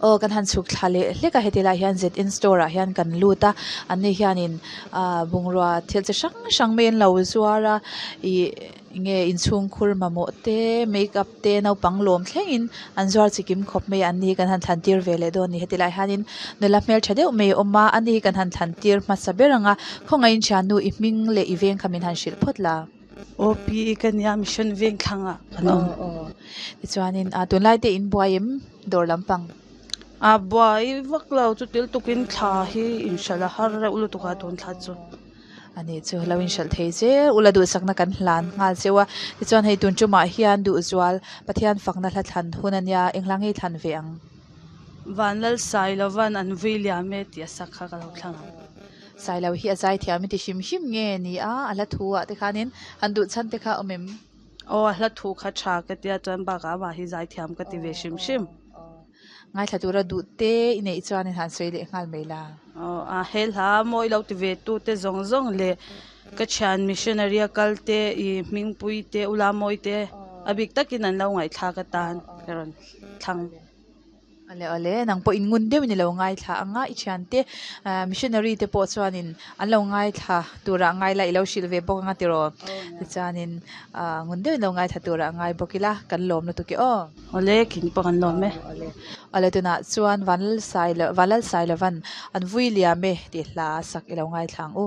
Aw kan han chhuk thla leh hlek a heti lai hian zn store ah hian kan lut a an ni hianin ah bungrua thil chi hrang hrang mai an lo zuar a ih enge inchhungkhur mamawh te makeup te naupang lawm thlengin an zuar chi kim khawp mai a an ni hi kan han thlan tir ve leh dawn a ni heti lai hianin nula hmeltha deuh mai a awm a ani hi kan han thlan tir hmasa ber ang a khawngaihin thiannu i hming leh i veng kha min han hrilh phawt la. Aw pi i ka nia mission veng thlangah kan awm. Aw aw tichuanin ah tunlai te in buai em dawr lampang? A buai vak lo chu til tukin thla hi inhralh a har reuh lutuk a tun thla chu. Ani chu lo inhralh thei zel ula duhsakna kan hlan nghal cheu a tichuan hei tun tumah hian duhzual Pathian fakna hla thlan hun ania eng hla nge i thlan ve ang? Vanlal Sailovan an vui liam e tih a sak kha ka lo thlang ang. Sailo hi a zaithiam i ti hrim hrim nge ni a, a hla thu ah te khanin han duh chhan te kha a awm em? Aw a hla thu kha tha ka tia chuan bakah amah hi zaithiam ka ti ve hrim hrim. Ngaithla tura duh te i neih chuan in han sawi leh nghal mai la. Aw a he hla mawi lo ti ve tu te zawng zawng leh ka thian missionary a kal te i hmingpui te ula mawi te a bik takin an lo ngaihthlak atan ka rawn thlang. Awle awle, nang pawh in ngun deuhin i lo ngaithla ang a, i thiante missionary te pawh chuanin an lo ngaithla turah a ngai la, i lo hrilh ve bawk ang a tiraw? Tichuanin ngun deuhin lo ngaithla turah a ngai bawk ila, kan lawm lutuk e aw. Awle, khin pawh kan lawm e. Awle, awle tunah chuan Vanlalsailo Vanlalsailovan an vui liam e tih hla sak i lo ngaithla ang u.